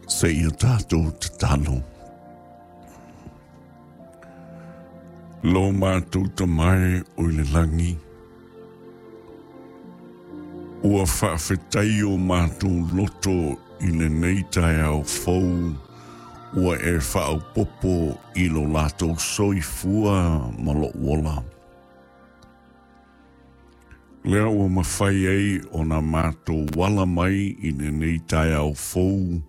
Seia tatou tatalo. Lo matou Tama e o i le lagi, ua faafetai o matou loto i lenei taeao fou ua e faaopoopo i lo latou soifua ma lou ola. Lea ua mafai ai ona matou ala mai i lenei taeao fou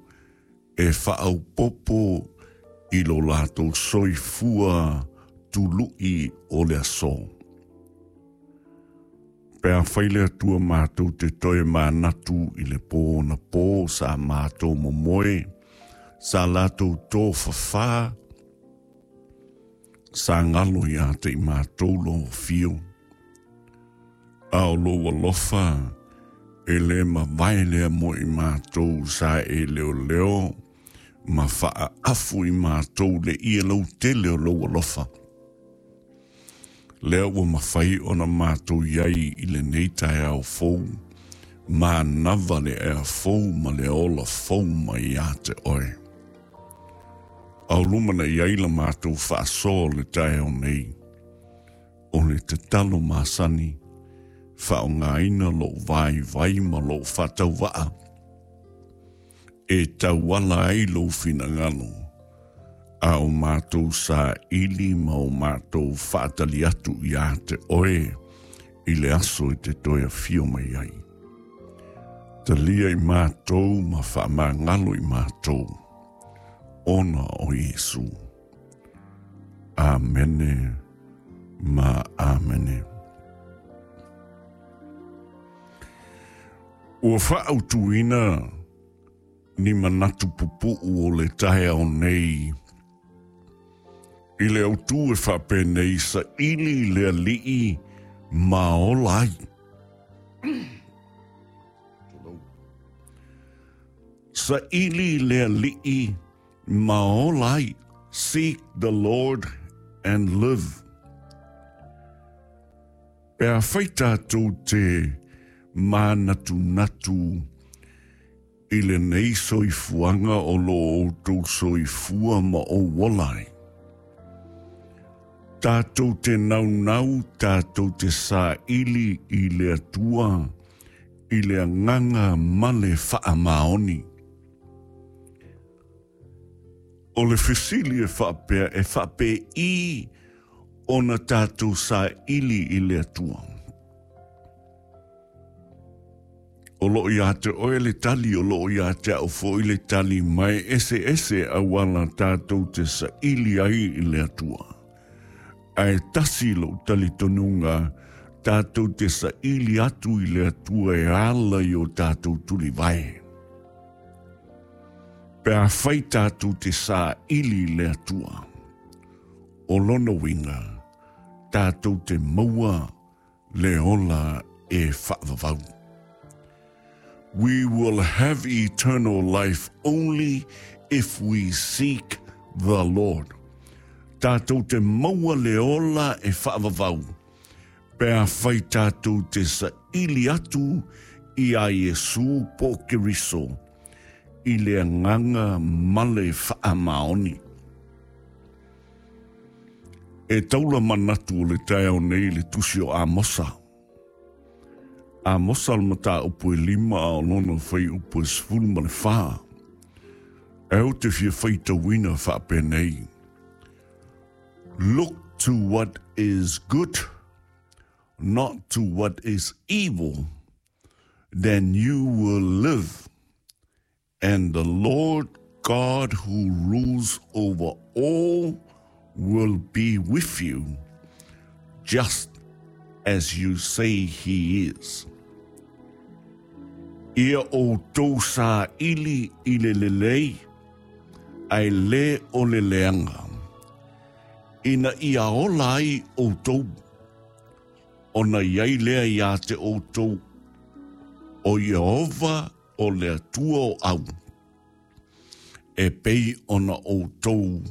e faaopoopo i lo latou soifua tului o le aso. Pe afai le Atua matou te toe manatu i le pō anapo sa matou momoe, sa latou tofafā, sa galo ia te i matou lou afio. A o lou alofa e le mavae lea mo i matou sa e leoleo ma faaafu i matou le ie lautele o lou alofa. Lea ua mafai ona matou i ai i lenei taeao fou, manava le ea fou ma le ola fou mai ia te oe. Aulumanai ai la matou faasoa o le taeao nei. O le tatalo masani, faaaogaina lou vaivai ma lou faatauvaa e tauala ai lou finagalo, a o matou saili ma o matou faatali atu ia te oe i le aso e te toe afio mai ai. Talia i matou ma faamagalo i matou, ona o Iesu. Amene ma amene. Ua faautuina ni manatu pupuu o le taeao nei i le autū e faapenei saili i le Alii ma ola ai. Saili i le Alii ma ola ai. Seek the Lord and live. Pe afai tātou te mānatunatu i lenei soifuaga o lo outou soifua ma ou ola ai, tātou te naunau, tātou te saili i le Atua, i le agaga ma le faamaoni. O le fesili e faapea e faapei ona tatou saili i le Atua. O loo ia te oe le tali, o loo ia te au foi le tali, ma e eseese auala tatou te saili ai i le Atua. Ae tasi lou talitonuga, tatou te saili atu i le Atua e ala i o tatou tulivae. Pe afai tatou te saili i le Atua, o lona uiga, tatou te maua le ola e faavavau. We will have eternal life only if we seek the Lord. Tatou te maua le ola e faavavau pe afai tatou te saili atu i a Iesu po o Keriso i le agaga ma le faamaoni. E taula manatu o le taeao nei i le tusi o Amosa. Amosa le mataupu e 5 a o lona fuaiupu e 14. E ou te fia faitauina faapenei. Look to what is good, not to what is evil, then you will live, and the Lord God who rules over all will be with you, just as you say he is. Ia outou saili i le lelei, ae le o le leaga, ina ia ola ai outou, ona i ai lea iā te outou o Ieova o le Atua o au, e pei ona outou.